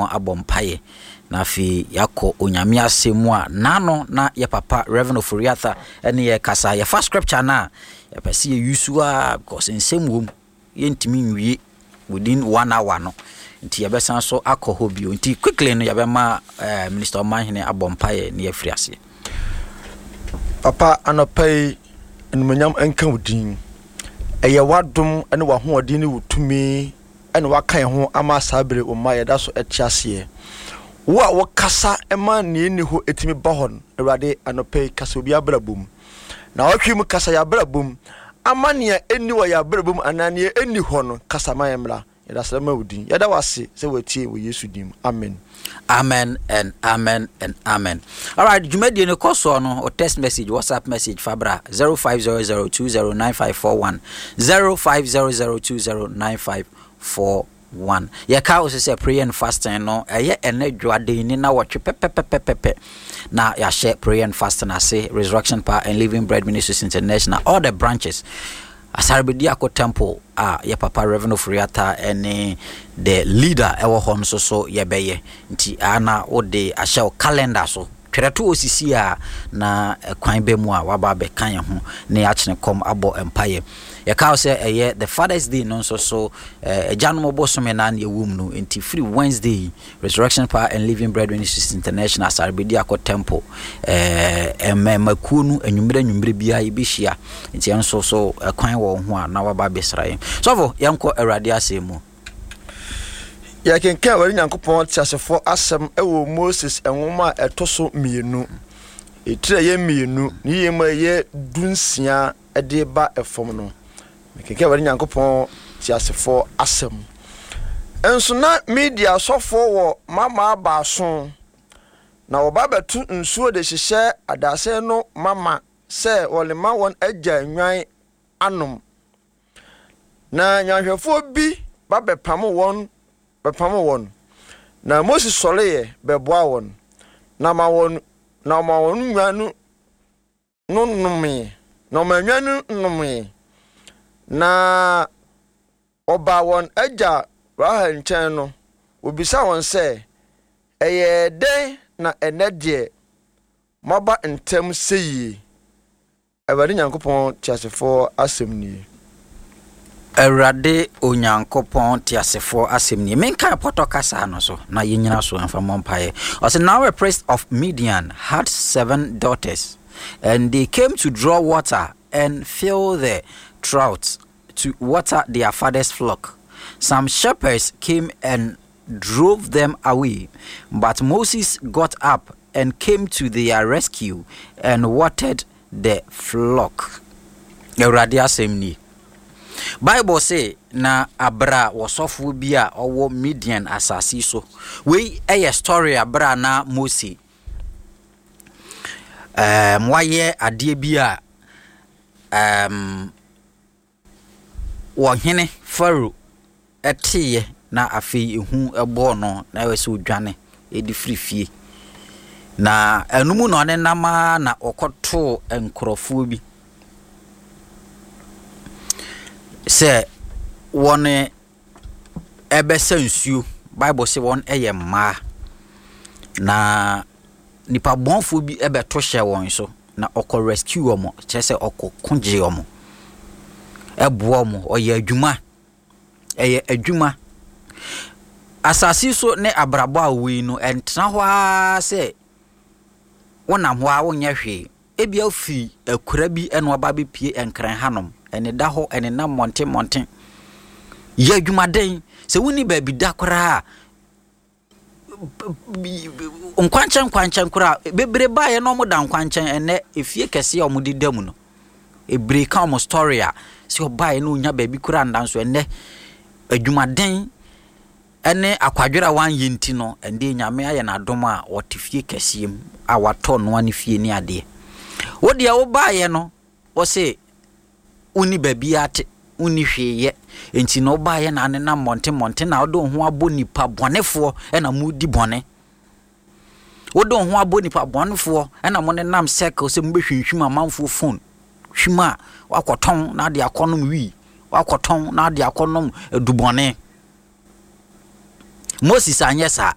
Nyankopɔn abɔ mpaeɛ na afei yɛakɔ Onyame asɛm mu a n'ano na yɛ papa Reverend Ofori-Atta ɛne yɛ kasa. Yɛfa scripture no a yɛpɛ sɛ yɛ use a because nsɛm wɔ mu, yɛntumi nwie within one hour no, nti yɛbɛsan so akɔ hɔ bio. Nti quickly no yɛbɛma Minister Ɔmanhene abɔ mpaeɛ na yɛafiri aseɛ. Papa, anɔpa yi, animuonyam nka wo din. Ɛyɛ w'adom ne w'ahoɔden ne wo tumi na waka yɛn ho ama saa bere wo mma yɛda so te aseɛ. Wo a wokasa ma nea ɛnni hɔ ɛtumi ba hɔ no, Awurade, anɔpa yi kasa obi abrabɔ mu. Na ɔtwe mu kasa yɛn abrabɔ mu ama nea ɛnni wɔ yɛn abrabɔ mu anaa nea ɛnni hɔ no, kasa ma yɛn mmra. Yɛda srɛ ma wo din. Yɛda wo ase sɛ woatie wɔ Yesu din mu. Amen. Amen and amen and amen. Alright, dwumadie no kɔ soɔ no, o text message, WhatsApp message fa bra 0500209541, 0500209541. Yɛka wo sɛ sɛ prayer and fasting no ɛyɛ ɛnɛ dwoaden ni na wɔtwe pɛpɛpɛpɛpɛ na yɛahyɛ prayer and fasting ase. Resurrection Power and Living Bread Ministries International, all the branches, Asarbediako Temple a yɛ papa Reverend Ofori-Atta ne the leader ɛwɔ hɔ nso so yɛbɛyɛ. Nti ana wode ahyɛ wo calendar so, twerɛ to osisi a na kwan bɛ mu a waba abɛka yɛn ho na yɛakyene kɔm abɔ mpayɛ. Yɛka wo sɛ ɛyɛ the Father's Day no nso so, agyanom bosome na na ɛwɔ mu no. Nti firi Wednesday yi, Resurrection Power and Living Bread Ministries International, Asarbediako Temple, mmɛmakuo no anwummerɛ anwummerɛ biara yɛbɛhyia. Nti ɛno nso so ɛkwan wɔ ho a na waba abɛsra yɛn. Sɔfo, yɛnkɔ Awurade asɛm mu. Yɛkenkan Awurade Nyankopɔn teasefoɔ asɛm wɔ Moses nwoma a ɛtɔ so mmienu, etiri a ɛyɛ 2, ne yie mu a ɛyɛ 16 de ba fam no. Mekenkan Awurade Nyankopɔn teasefoɔ asɛm. Nso na Midia asɔfoɔ wɔ mmammaa baason, na wɔba bɛto nsuo de hyehyɛ adasɛn no mama sɛ wɔrema wɔn agya nnwan anom. Na nnwanhwɛfoɔ bi ba bɛpamo wɔn bɛpamo wɔn. Na Mose sɔreeɛ bɛboaa wɔn, na ɔma wɔn na ɔma wɔn nnwan no no nomee, na ɔma nnwan no nomee. Na wɔbaa wɔn agya Rahel nkyɛn no, wɔbisaa wɔn sɛ, Ɛyɛɛ dɛn na ɛnnɛ deɛ moaba ntɛm seyie? Awurade Nyankopɔn teasefoɔ asɛm nie. Awurade Onyankopɔn teasefoɔ asɛm nie. Menkae pɔtɔ kasa no so na yɛnyina so mfa mmɔ mpaeɛ. Ɔsɛ, now a priest of Midian had seven daughters, and they came to draw water and fill the troughs to water their father's flock. Some shepherds came and drove them away, but Moses got up and came to their rescue and watered the flock. Awurade asɛm nie. Bible se na abra wɔsɔfoɔ bi a ɔwɔ Midian asase so. Wei yɛ story abra na Mose wayɛ adeɛ bi a ɔhene Farao teeɛ na afei ehu bɔɔ no na ɛwɔ sɛ ɔdwane de firi fie. Na ɛno mu na ɔnenam ara na ɔkɔtoo nkurɔfoɔ bi sɛ wɔn ɛbɛsa nsuo. Bible sɛ wɔn yɛ mmaa. Na nipa bɔnfoɔ bi bɛto hyɛ wɔn so na ɔkɔ rescue wɔn, kyerɛ sɛ ɔkɔ ko gye wɔn, ɛboa wɔn, ɔyɛ adwuma, ɛyɛ adwuma. Asase so ne abrabɔ a wɔ yi no, ɛntena hɔ ara sɛ wonam hɔ a wonyɛ hwee. Ebia wofiri akura bi na waba abɛpue Nkran hanom, ɛneda hɔ, ɛnenam mmɔnten mmɔnten. Yɛ adwumaden. Sɛ wonni baabi da koraa a, nkwankyɛn nkwankyɛn koraa bebree baeɛ na wɔda nkwankyɛn. Ɛnnɛ efie kɛseɛ a wɔde da mu no, bebree ka wɔn story a sɛ ɔbaeɛ na ɔnya baabi koraa nda nso ɛnnɛ adwumaden ne akwadwerɛ a wanyɛ nti no, ɛnde Nyame ayɛ no adom a ɔte fie kɛseɛ mu a watɔ noa ne fie ne adeɛ. Wo deɛ wobaeɛ no, wo se wonni baabi ate, wonni hwee yɛ, nti na wobaeɛ na anenam mmɔnten mmɔnten na wode wo ho abɔ nipa bɔnefoɔ na modi bɔne. Wode wo ho abɔ nipa bɔnefoɔ na mo nenam circle sɛ mobɛhwinhwim amanfoɔ phone, hwim a wakɔtɔn na ade akɔnom wii, wakɔtɔn na ade akɔnom adubɔne. Moses anyɛ saa.